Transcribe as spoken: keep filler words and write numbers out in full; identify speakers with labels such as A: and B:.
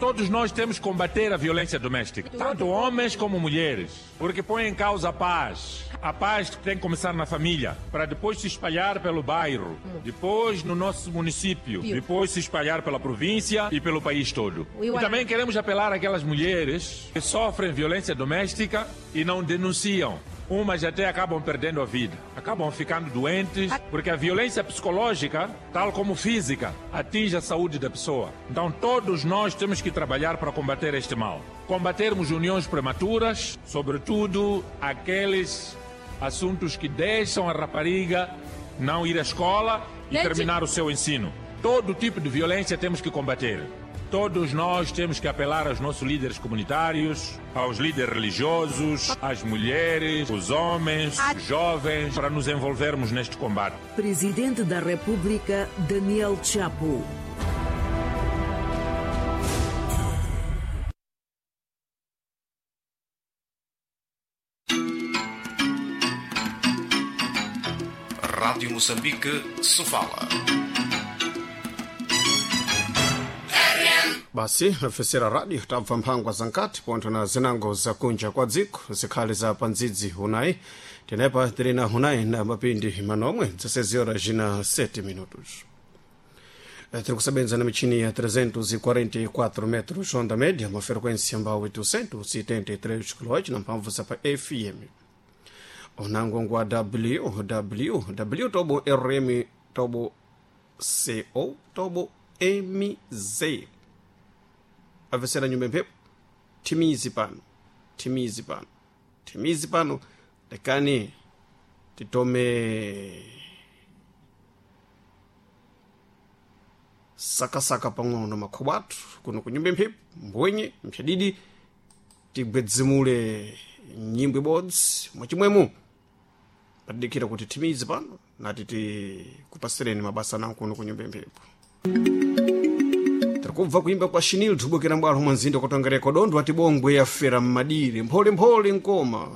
A: Todos nós temos que combater a violência doméstica, tanto homens como mulheres, porque põe em causa a paz. A paz tem que começar na família, para depois se espalhar pelo bairro, depois no nosso município, depois se espalhar pela província e pelo país todo. E também queremos apelar àquelas mulheres que sofrem violência doméstica e não denunciam. Umas até acabam perdendo a vida, acabam ficando doentes, porque a violência psicológica, tal como física, atinge a saúde da pessoa. Então todos nós temos que trabalhar para combater este mal. Combatermos uniões prematuras, sobretudo aqueles assuntos que deixam a rapariga não ir à escola e terminar o seu ensino. Todo tipo de violência temos que combater. Todos nós temos que apelar aos nossos líderes comunitários, aos líderes religiosos, às mulheres, os homens, os jovens, para nos envolvermos neste combate.
B: Presidente da República, Daniel Chapo.
C: Rádio Moçambique, Sofala.
D: Basi afesera radio tabva mphangwa za nkati pontho na zinango zakunja kwa dziko zikhali za pandzidzi unayi tenepa tili na hunayi na mapindi manomwe dzasezi horas jina sete minutos. Tiri kusebenza na michini ya trezentos e quarenta e quatro metros onda média, uma frequência ambao oitocentos e setenta e três kHz na mphamvu za pa F M, unango ngwa W W W tobo R M tobo C O tobo M Z. Avesera nyumba mphepo timizi pano, timizi pano, timizi pano, lekani titome sakasaka pang'ono makhobo athu kuno ku nyumba mphepo mbwenye mphyadidi tigwedzimule nyimbo ibodzi mwachimwemo patidikira kuti timizi pano nati tikupasireni mabasa nawo kuno ku nyumba mphepo. Kubva kuimba kwa Shinil tubukira mbwalo mwa mzinda kutongereko dondo ati bongwe yafera mmadiri mpholemphole nkoma.